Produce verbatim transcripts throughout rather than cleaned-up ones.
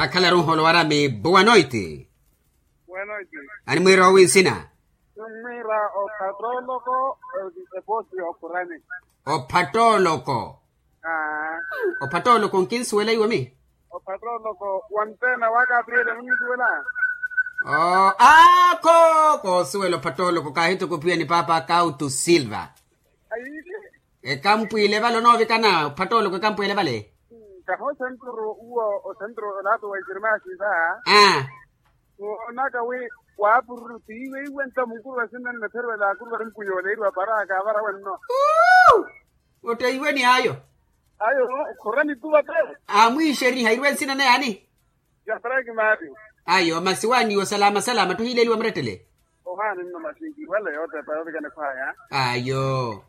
Akhalaru nhoolo warami buwanoiti. Buwanoiti. Animwiira owi nsina? Nimwiira ophattooloko. Epoosi yokhurani. Ophattooloko. Ophattooloko nkinsuwela iwe mi. Ophattooloko wanteena wakaapiriyele munisuwela. Oo aakho koosuwela ophattooloko kaahitukupiwa ni paapa kautu silva. Ekampwiile vale onoovikana ophattooloko ekampwiile vale. Kahi osenturu uwo osenturu olato wa ijirmaasi va. Aa. Woonaka wi waapururu tiiwe iwe nta munkuru wa sinanne pherwela akuru vari mukuyooleeriwa para akaavara wenno. Otteiwe ni ayo. Ayo khurani tuva te. Amwiixeriha iriwe nsina naye ani? Jatraki mario. Ayo masi waaniiwo salama salama ttuhiileeliwa murettele. Ohaani nno masi nkiwale yootepa yoovikane khwaya. Ayo.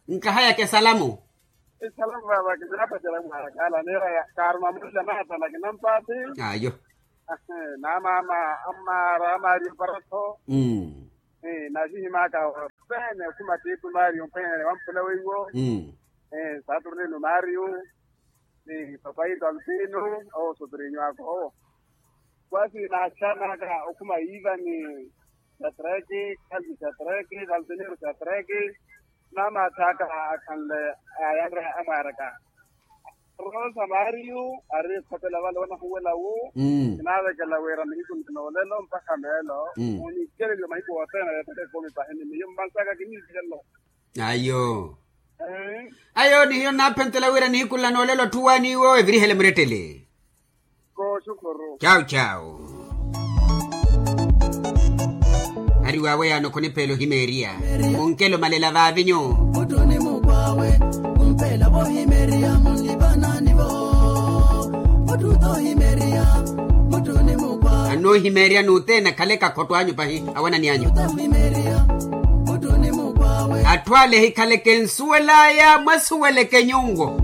Nkahayaka esalamu. Esalamu vava kinapacela mwarakala nira kaaruma mulla naatala kinampaati. Ayo. Naamaama ammaara amaari mparatho. Navihimaaka opeene okhuma tiitu maari omphwenyane wampula weiwo. Saturnino maari. Ni papaito alpino. Owo sopirinyo ako owo. Kwasi naaxanaka okhuma iva ni satraki kalvi satraki kalvinero satraki. Naamaathaka akhanle ayanre amwaaraka. Rosa mario ari ekhopela vale wanahuwela wu. Kinaavekela wira nihiku ninoolelo mpakha meelo. Oniikeleliwa mahiku othene yeettaka ekumi pahini miyo mmansaka kiniikelelo. Ayo. Ayo nihiyo nnaaphentela wira nihiku nla noolelo atthu waaniiwo evirihele murettele. Kooxukhuru. Chau chau. Ari waawe yaano khunipeela ohimeeriya. Munkelo malela vaavinyu. Muttuni mukwaawe. Mumpeela vohimeeriya munlivanani vo. Muttuni ohimeeriya. Muttuni mukwaawe. Anoohimeeriya n'uteena khaleka khotto anyu pahi awanani anyu. Atthu ale ehikhaleke nsuwel'aya mwasuweleke nyunwo.